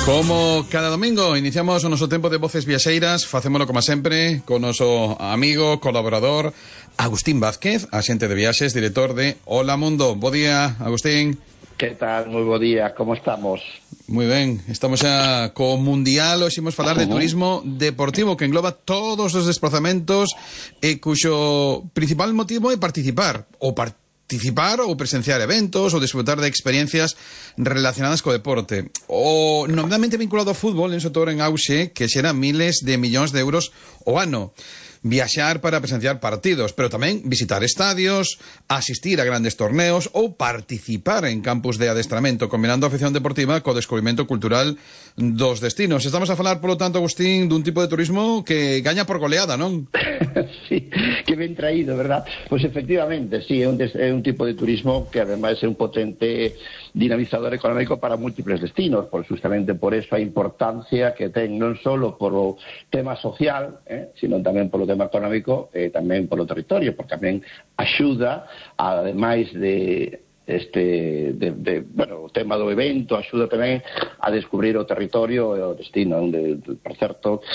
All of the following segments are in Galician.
Como cada domingo iniciamos o noso tempo de Voces Viaxeiras, facémolo como sempre con noso amigo, colaborador Agustín Vázquez, axente de viaxes, director de Hola Mundo. Bo día, Agustín. Que tal? Moi bo día, como estamos? Moi ben, estamos xa co Mundial, hoxe imos falar de turismo deportivo que engloba todos os desplazamentos e cuxo principal motivo é participar ou presenciar eventos ou disfrutar de experiencias relacionadas co deporte. O nominalmente vinculado ao fútbol en sector en auxe que xera miles de millóns de euros o ano. Viaxar para presenciar partidos, pero tamén visitar estadios, asistir a grandes torneos ou participar en campus de adestramento, combinando a afición deportiva co descubrimento cultural dos destinos. Estamos a falar, polo tanto, Agustín, dun tipo de turismo que gaña por goleada, non? Sí, que ben traído, verdad? Pois efectivamente, sí, é un tipo de turismo que ademais é un potente dinamizador económico para múltiples destinos, justamente por eso a importancia que ten non só polo tema social, sino tamén polo tema económico e tamén polo territorio, porque tamén axuda, ademais bueno, o tema do evento axuda tamén a descubrir o territorio e o destino, onde, por certo,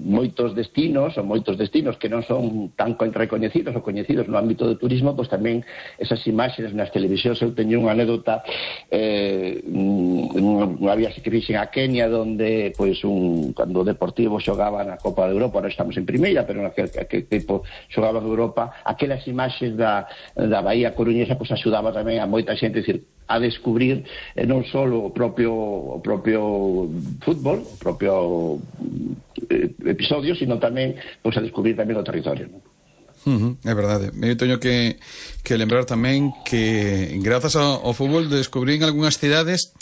moitos destinos que non son tan recoñecidos ou coñecidos no ámbito do turismo, pois tamén esas imaxes nas televisións. Eu teño unha anécdota, unha viaxe que fixen a Kenia, donde cando o Deportivo xogaba na Copa de Europa, non estamos en primeira, pero naquele tipo xogaba en Europa, aquelas imaxes da Bahía Coruñesa pois axudaba tamén a moita xente, a descubrir non só o propio fútbol, o propio episodio, sino tamén a descubrir tamén o territorio, non? É verdade. Eu teño que lembrar tamén que grazas ao fútbol descubrín algunhas cidades,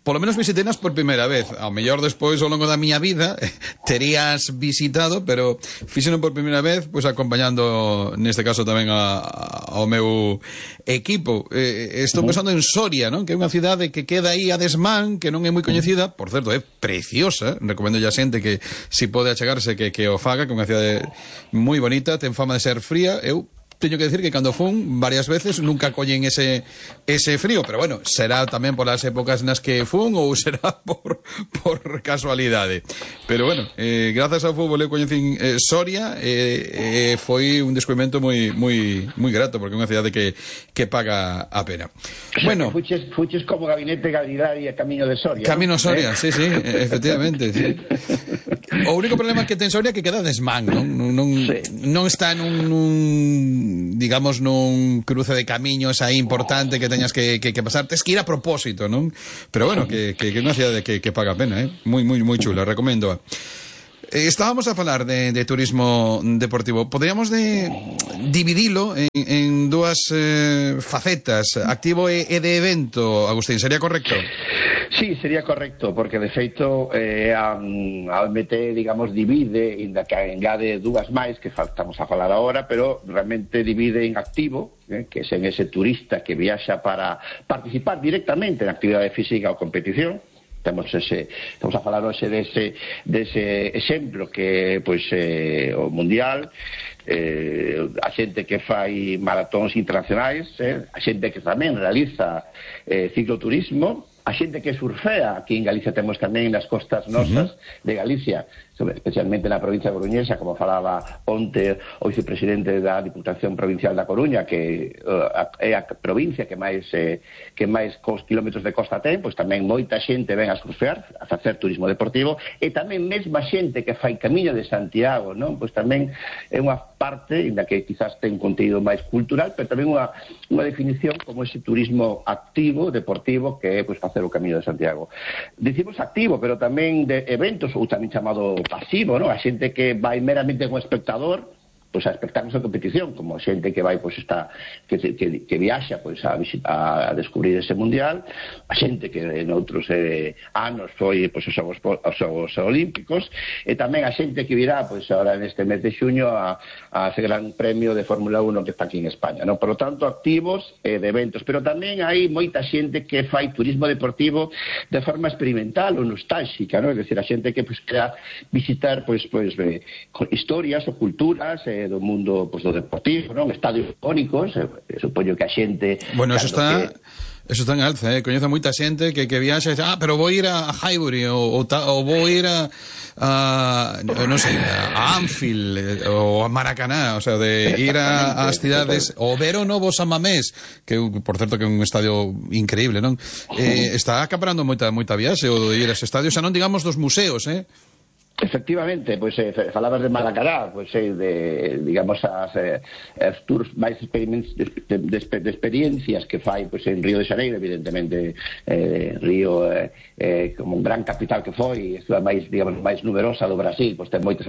polo menos visitenas por primeira vez. Ao mellor despois, ao longo da miña vida, terías visitado, pero fixeno por primeira vez, pois acompañando, neste caso tamén ao meu equipo. Estou pensando en Soria, non? Que é unha cidade que queda aí a desmán, que non é moi coñecida, por certo, é preciosa. Recomendo a xente que si pode achegarse que o faga, que é unha cidade moi bonita, ten fama de ser fría. Eu teño que decir que cando fun varias veces nunca collen ese frío, pero bueno, será tamén por as épocas nas que fun ou será por casualidade. Pero bueno, grazas ao fútbol eu coñecín Soria, foi un descubrimento moi grato, porque é unha cidade que paga a pena. Bueno, fuches como gabinete Galidaria Camiño de Soria. Camino Soria, sí, efectivamente, sí. O único problema que ten Soria é que queda desmán, non está digamos, nun cruce de camiños aí importante que teñas que pasar, tes que ir a propósito, non? Pero bueno, que é unha cidade que paga a pena, moi chula, recomendo. Estábamos a falar de turismo deportivo. Poderíamos dividilo en dúas facetas, activo e de evento, Agustín, sería correcto? Sí, sería correcto, porque de feito a OMT, digamos, divide, inda que engade dúas máis que estamos a falar agora, pero realmente divide en activo, que é ese turista que viaxa para participar directamente en actividade física ou competición. Estamos a falar hoxe dese exemplo que o Mundial, a xente que fai maratóns internacionais, a xente que tamén realiza cicloturismo, a xente que surfea. Aquí en Galicia temos tamén nas costas nosas de Galicia, especialmente na provincia de Coruñesa, como falaba onte o vicepresidente da Diputación Provincial da Coruña, que é a provincia que máis kilómetros de costa ten, pois tamén moita xente ven a surfear, a facer turismo deportivo, e tamén mesma xente que fai Camiño de Santiago, non? Pois tamén é unha parte, inda que quizás ten contido máis cultural, pero tamén unha definición como ese turismo activo, deportivo, que é facer o Camiño de Santiago. Dicimos activo, pero tamén de eventos, ou tamén chamado pasivo, non? A xente que vai meramente como espectador, a espectáculos de competición, como xente que vai que viaxa a descubrir ese mundial, a xente que en outros anos foi os Xogos Olímpicos, e tamén a xente que virá agora neste mes de xuño a ese gran premio de Fórmula 1 que está aquí en España, non? Por lo tanto, activos de eventos, pero tamén hai moita xente que fai turismo deportivo de forma experimental ou nostálxica, non? É dicir, a xente que quera visitar historias ou culturas do mundo do deportivo, non? Estadios icónicos, supoño que a xente... Bueno, eso está... Eso está en alza, coñezo moita xente que viaxa e dice, pero vou ir a Highbury ou vou ir a non sei, a Anfield ou a Maracaná, o sea, de ir ás cidades, ou ver o novo San Mamés, que por certo que é un estadio increíble, non? Está acaparando moita viaxe o de ir a ese estadio, xa non digamos dos museos, Efectivamente, pois falabas de Maracaná, pois digamos as tours máis de experiencias que fai pois en Río de Xaneiro, evidentemente Río como un gran capital que foi, a máis, digamos, máis numerosa do Brasil, pois ten moitas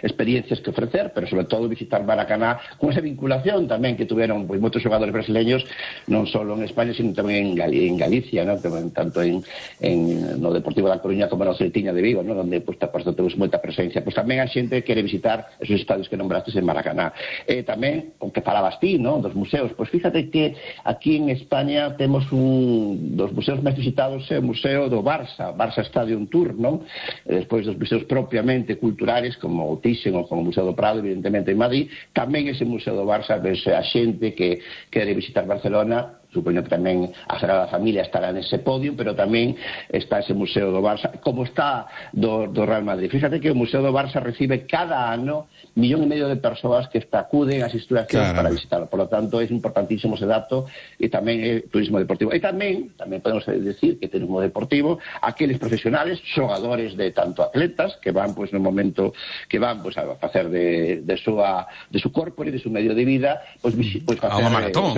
experiencias que ofrecer, pero sobre todo visitar Maracaná con esa vinculación tamén que tuveron pois moitos xogadores brasileños, non só en España, sino tamén en Galicia, ¿no? Tanto no Deportivo da Coruña como no Celtiña de Vigo, ¿no? Donde pois temos moita presencia. Pois tamén a xente quere visitar esos estadios que nombrastes en Maracaná. Tamén, con que falabas ti, ¿no? Dos museos. Pois fíjate que aquí en España temos un dos museos máis visitados é o Museo do Barça Stadium Tour, ¿no? Despois dos museos propiamente culturales, como o Thyssen ou como o Museo do Prado, evidentemente en Madrid, tamén ese Museo do Barça, pois a xente que quere visitar Barcelona, supoño que tamén a Sagrada Familia estará nese podio, pero tamén está ese Museo do Barça, como está do Real Madrid. Fíjate que o Museo do Barça recibe cada ano 1,5 millón de persoas que acuden ás instalacións para visitarlo. Por lo tanto, é importantísimo ese dato, e tamén é turismo deportivo. E tamén podemos decir que turismo deportivo, aqueles profesionales, xogadores de tanto atletas, que van, pois, no momento que van, pois, a facer de su corpo e de su medio de vida, pois facer a unha maratón,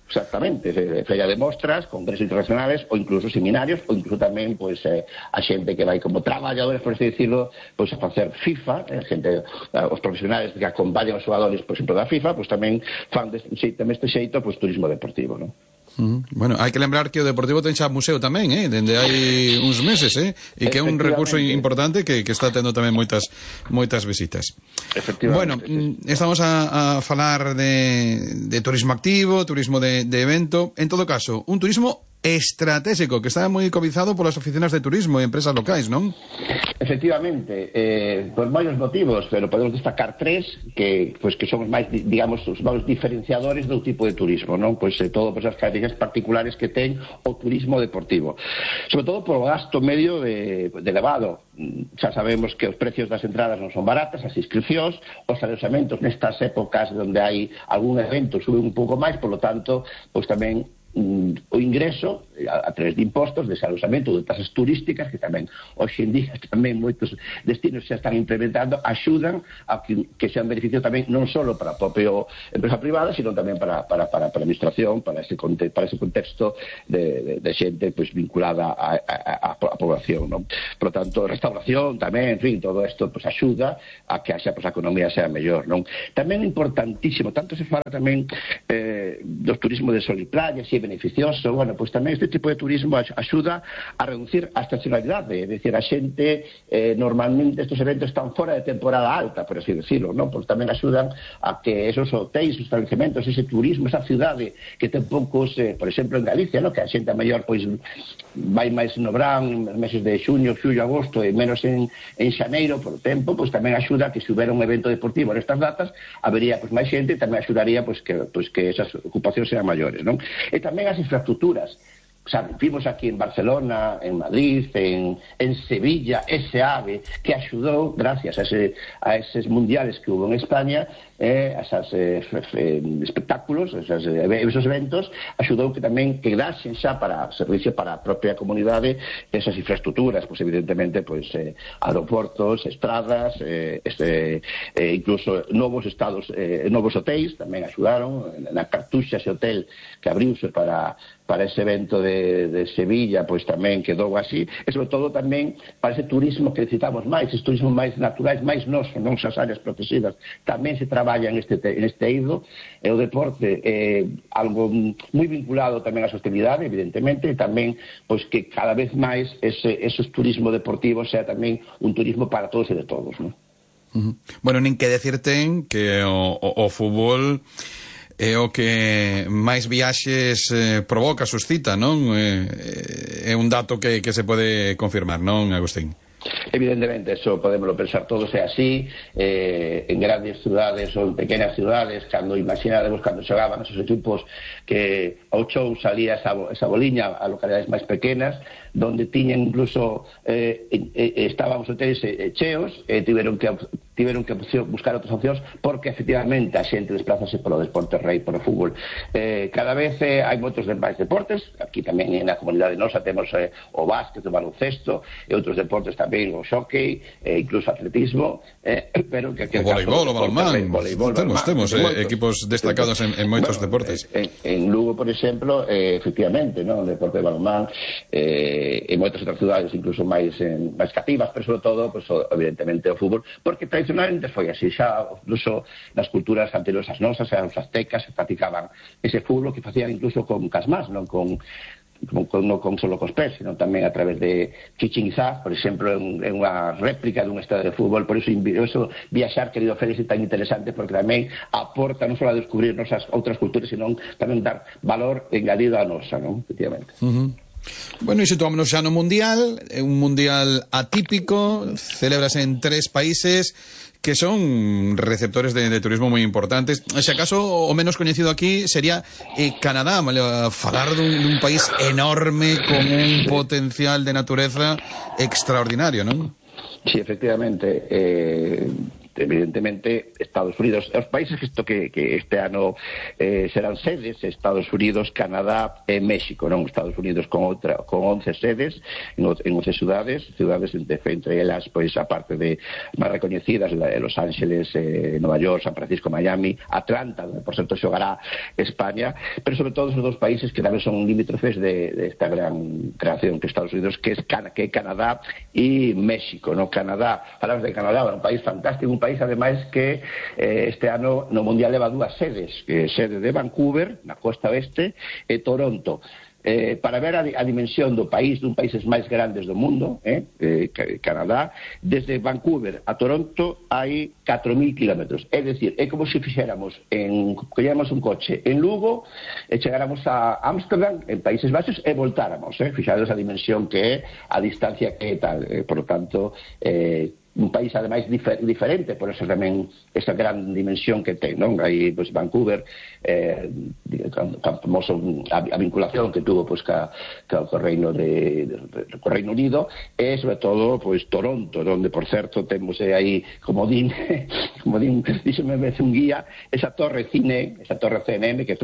Exactamente, feira de mostras, congresos internacionales ou incluso seminarios, ou incluso tamén pois a xente que vai como traballadores, por así decirlo, pois a facer FIFA, os profesionales que acompañan os xogadores, por exemplo, da FIFA, pois tamén fan deste xeito pois turismo deportivo, non? Bueno, hai que lembrar que o Deportivo ten xa museo tamén, dende hai uns meses, e que é un recurso importante que está tendo tamén moitas visitas. Bueno, estamos a falar de turismo activo, turismo de evento, en todo caso, un turismo estratégico que está moi cobizado polas oficinas de turismo e empresas locais, non? Efectivamente, por varios motivos, pero podemos destacar tres que son os máis, digamos, os máis diferenciadores do tipo de turismo, non? Pois todo por esas características particulares que ten o turismo deportivo. Sobre todo por o gasto medio de elevado. Xa sabemos que os precios das entradas non son baratas, as inscripcións, os alojamentos nestas épocas onde hai algún evento suben un pouco máis, por lo tanto, pois tamén o ingreso a través de impostos, de alojamento, de tasas turísticas, que tamén hoxe en día tamén moitos destinos xa están implementando, axudan a que sean beneficio tamén non só para a propia empresa privada, sino tamén para a administración, para ese contexto de xente pois vinculada á población, non? Por lo tanto, restauración tamén, en fin, todo isto pois axuda a que a economía sea mellor, non? Tamén importantísimo, tanto se fala tamén dos turismo de sol e playa, si é beneficioso, bueno, pois tamén este tipo de turismo axuda a reducir a estacionalidade, é dicir, a xente normalmente estes eventos están fora de temporada alta, por así decirlo, non? Pois tamén axudan a que esos hotéis, os establecementos, ese turismo, esa cidade que ten poucos, por exemplo, en Galicia, non? Que a xente a mellor pois vai máis no verán, meses de xuño, xullo, agosto e menos en xaneiro por tempo, pois tamén axuda a que se houbera un evento deportivo nestas datas, habería pois máis xente e tamén axudaría pois que esas ocupacións sean maiores, non? E tamén as infraestructuras. O sea, vimos aquí en Barcelona, en Madrid, en Sevilla, ese AVE que axudou, gracias a eses mundiales que hubo en España, a esos espectáculos, esos eventos, axudou que tamén quedasen xa para servicio para a propia comunidade esas infraestructuras, pois evidentemente pois aeroportos, estradas, incluso novos hotéis tamén axudaron, na Cartuxa ese hotel que abriuse para ese evento de Sevilla, pois tamén quedou así, e sobre todo tamén para ese turismo que necesitamos máis, ese turismo máis naturais, máis noso, non esas áreas protegidas, tamén se traballa en este eido, e o deporte algo moi vinculado tamén á sostenibilidade, evidentemente, e tamén pois que cada vez máis esos turismo deportivo sea tamén un turismo para todos e de todos, non? Bueno, nin que decir ten que o fútbol é o que máis viaxes provoca, suscita, non? É un dato que se pode confirmar, non, Agustín? Evidentemente, eso podemos pensar todos, é así, en grandes ciudades ou en pequenas ciudades, cando imaginaremos cando xogaban esos equipos que ao chou salía esa boliña a localidades máis pequenas, donde tiñen incluso estaban os hotéis cheos, tiveron que buscar outras opcións, porque efectivamente a xente desplázase polo deporte rei, polo fútbol. Cada vez hai moitos máis deportes, aquí tamén na comunidade nosa temos o básquet, o baloncesto e outros deportes tamén, o xockey, incluso atletismo, pero que o voleibol, o balonmán, temos equipos destacados en moitos deportes. En Lugo, por exemplo, efectivamente, o deporte de balonmán, en moitas outras cidades incluso máis cativas, pero sobre todo, pues, evidentemente, o fútbol, porque tradicionalmente foi así, xa incluso nas culturas anteriores ás nosas, os aztecas, se practicaban ese fútbol que facían incluso con casmás, non con solo cos pés, sino tamén a través de Chichén Itzá, por exemplo, en unha réplica dun estadio de fútbol. Por eso viaxar, querido Félix, é tan interesante, porque tamén aporta non só a descubrir nosas outras culturas, sino tamén dar valor engadido a nosa, non? Efectivamente. Bueno, e situámonos xa no Mundial, un Mundial atípico, celébrase en 3 países que son receptores de turismo moi importantes. Se acaso o menos coñecido aquí sería Canadá, falar dun país enorme con un potencial de natureza extraordinario, non? Sí, efectivamente, evidentemente Estados Unidos, os países que este ano serán sedes, Estados Unidos, Canadá e México, non? Estados Unidos con 11 sedes en 11 ciudades entre elas, pois, aparte de máis recoñecidas, Los Ángeles, Nova York, San Francisco, Miami, Atlanta, donde por certo xogará España, pero sobre todo esos dos países que tamén son limítrofes de esta gran creación que Estados Unidos, que é Canadá e México, non? Canadá, falamos de Canadá, un país fantástico, un país ademais que este ano no Mundial leva 2 sedes, sede de Vancouver, na costa oeste, e Toronto. Para ver a dimensión dun país máis grandes do mundo, Canadá, desde Vancouver a Toronto hai 4.000 kilómetros. É dicir, é como se colléramos un coche en Lugo e chegáramos a Ámsterdam, en Países Baixos, e voltáramos. Fixados a dimensión que é, a distancia que é tal. Por lo tanto, un país ademais diferente, por eso tamén esa gran dimensión que ten, non? Aí, pois, Vancouver, famoso a vinculación que tuvo, pois, co Reino Unido, e sobre todo, pois, Toronto, onde, por certo, temos aí, como din, díxeme vez un guía, esa torre CNN, que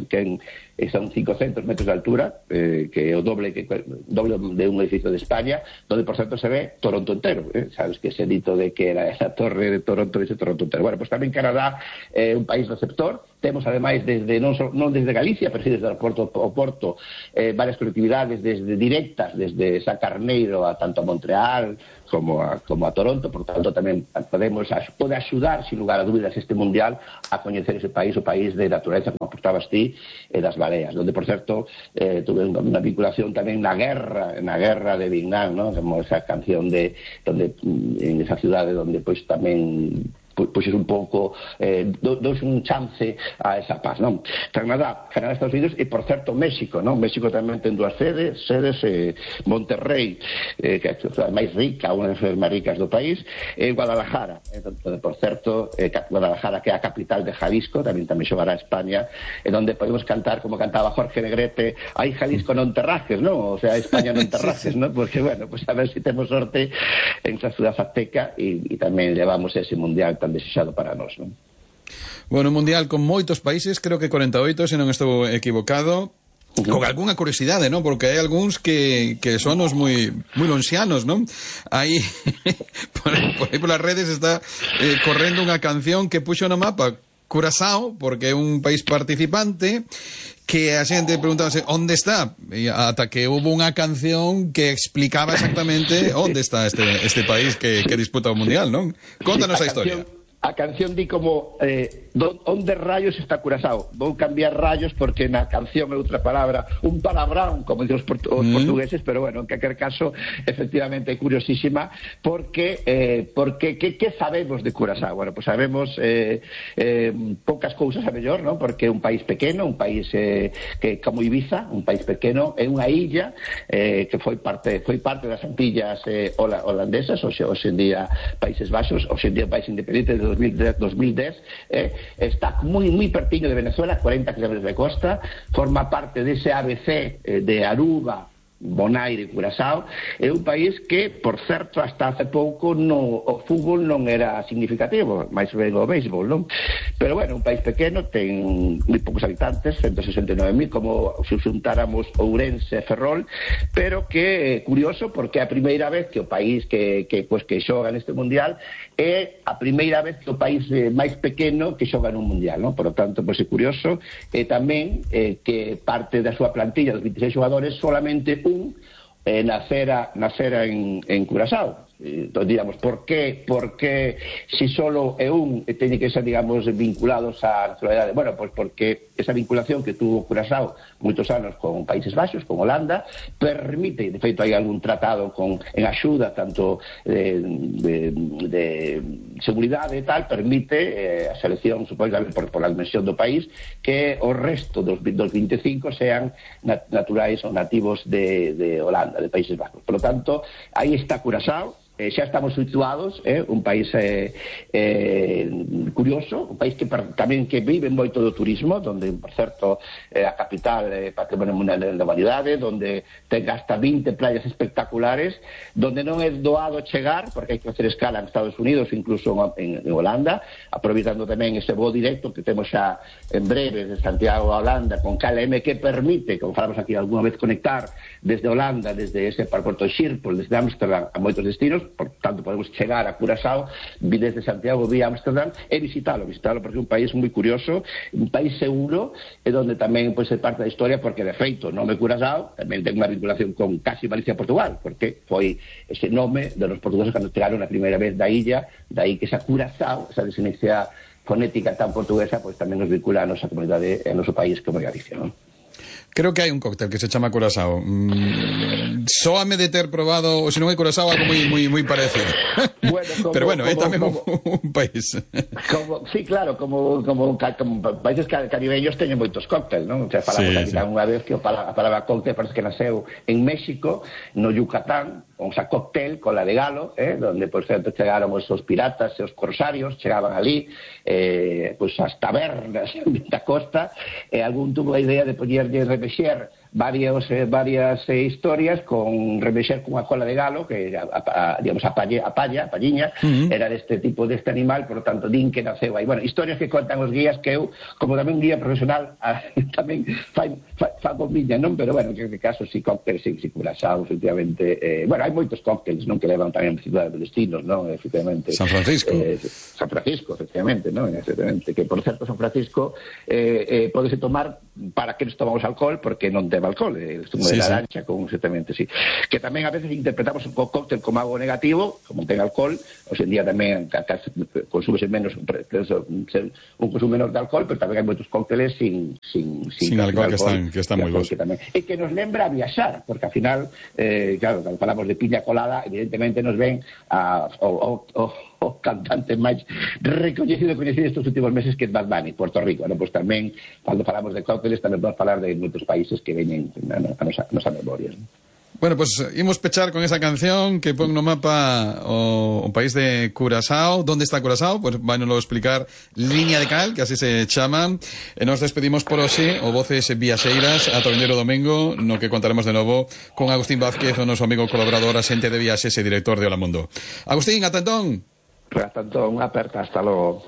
son 500 metros de altura, que é o doble de un edificio de España, donde, por certo, se ve Toronto entero, sabes que ese dito de que era esa torre de Toronto, ese Toronto entero. Bueno, pues tamén Canadá é un país receptor. Temos, ademais, non desde Galicia, pero sí desde o Porto, varias colectividades directas, desde Sacarneiro tanto a Montreal como a Toronto. Por tanto, tamén pode axudar, sin lugar a dúbidas, este Mundial a coñecer ese país, o país de natureza, como aportabas ti, das baleas, donde, por certo, tuve unha vinculación tamén na guerra de Vietnam, ¿no? Como esa canción en esa cidade donde, pois, tamén pois é un pouco dous un chance a esa paz, non? Canadá, Estados Unidos e, por certo, México, non? México tamén ten 2 sedes, Monterrey, que é a cidade máis rica, unha das cidades máis ricas do país, e Guadalajara, por certo, Guadalajara, que é a capital de Jalisco, tamén xogará a España, e donde podemos cantar como cantaba Jorge Negrete, aí Jalisco non te rajes, non? O sea, España non te rajes, non? Porque, bueno, pues a ver si temos sorte en esa ciudad azteca e tamén levamos ese Mundial tan desexado para nós, non? Bueno, un Mundial con moitos países, creo que 48, se non estou equivocado, con algunha curiosidade, non? Porque hai algúns que son os moi lonxianos, non? Aí por aí polas redes está correndo unha canción que puxo no mapa Curazao, porque é un país participante, que a xente preguntábase onde está, e ata que hubo unha canción que explicaba exactamente onde está este país que disputa o Mundial, non? Contanos a historia. A canción di como onde rayos está Curazao. Vou cambiar rayos porque na canción é outra palabra, un palabrón, como dicen os portugueses, pero bueno, en calquer caso, efectivamente é curiosísima porque que sabemos de Curazao? Bueno, pues sabemos poucas cousas a mellor, ¿no? Porque é un país pequeno, un país que como Ibiza, un país pequeno, é unha illa que foi parte das Antillas holandesas, hoxe en día Países Baixos, hoxe en día país independente de 2010, está moi pertiño de Venezuela, 40 km de costa, forma parte dese ABC de Aruba, Bonaire e Curazao. É un país que, por certo, hasta hace pouco o fútbol non era significativo, máis ben o béisbol, non? Pero bueno, un país pequeno, ten moi poucos habitantes, 169.000, como se xuntáramos Ourense e Ferrol, pero que é curioso porque é a primeira vez que o país que xoga neste mundial é a primeira vez que o país máis pequeno que xoga nun mundial, non? Por lo tanto, pois é curioso, e tamén que parte da súa plantilla dos 26 xogadores solamente nacera en Curazao. Entonces, digamos, ¿por qué si solo é teñe que ser, digamos, vinculados á nacionalidade? Bueno, pues porque esa vinculación que tuvo Curazao moitos anos con Países Baixos, con Holanda, permite, de feito hai algún tratado en axuda tanto de seguridade e tal, permite a selección, supósitamente por a dimensión do país, que o resto dos 25 sean naturais ou nativos de Holanda, de Países Baixos. Por lo tanto, aí está Curazao. Xa estamos situados, un país curioso, un país que tamén que vive moito do turismo, donde, por certo, a capital é Patrimonio Mundial da Humanidade, donde ten hasta 20 playas espectaculares, donde non é doado chegar, porque hai que facer escala en Estados Unidos, incluso en Holanda, aproveitando tamén ese voo directo que temos xa en breve de Santiago a Holanda, con KLM, que permite, como falamos aquí alguna vez, conectar desde Holanda, desde ese aeroporto de Schiphol, desde Ámsterdam a moitos destinos. Por tanto podemos chegar a Curazao desde Santiago vía Ámsterdam e visitalo porque é un país moi curioso, un país seguro, e onde tamén é parte da historia, porque de feito o nome Curazao tamén ten unha vinculación con casi Galicia e Portugal, porque foi ese nome de los portugueses cando chegaron a primeira vez da illa, dai que esa Curazao, esa desinexia fonética tan portuguesa, pois tamén nos vincula a nosa comunidade e a noso país como Galicia, non? Creo que hai un cóctel que se chama Curazao. Sóame de ter probado, ou se non é Curazao, algo moi parecido. Bueno, pero bueno, é tamén un país. Sí, claro, como países caribeños teñen moitos cócteles, non? O sea, falamos aquí unha vez que a palabra cóctel parece que nasceu en México, no Yucatán, o sea, cóctel con la de Galo, donde, por certo, chegaron os piratas e os corsarios, chegaban ali, pues as tabernas da costa, e algún tuvo a idea de poñerlle remexer varias historias con remexer cunha cola de galo, que digamos a palliña, era deste tipo, deste animal, por lo tanto din que naceu aí. Bueno, historias que contan os guías, que eu, como tamén un guía profesional, tamén fago miña, non? Pero bueno, que en este caso si cócteles, si Curazao, efectivamente, bueno, hai moitos cócteles, non? Que levan tamén cidades de destinos, non? Efectivamente. San Francisco, efectivamente, non? Efectivamente, que por certo San Francisco podese tomar para que nos tomamos alcohol, porque non ten alcohol, zumo de naranja con exactamente, sí. Que tamén a veces interpretamos o cóctel como algo negativo, como ten alcohol, hoxe en día tamén consúmese menos un consumo menor de alcohol, pero tamén hai moitos cócteles sin alcohol que están moi bons. E que nos lembra a viaxar, porque ao final, claro, cando falamos de piña colada, evidentemente nos ven o cantante máis recoñecido estes últimos meses, que é Bad Bunny, Puerto Rico, non? Pois tamén, cando falamos de cócteles, tamén vamos falar de moitos países que veñen a nosa memoria, non? Bueno, pues imos pechar con esa canción que pon no mapa o país de Curazao. ¿Dónde está Curazao? Pues vámonos a explicar Liña de Cal, que así se chama. Nos despedimos por hoxe, o voces viaxeiras, ata o vindeiro domingo, no que contaremos de novo con Agustín Vázquez, o noso amigo colaborador, asente de viaxes e director de Hola Mundo. Agustín, ata entón. Hasta entón, unha aperta, hasta logo.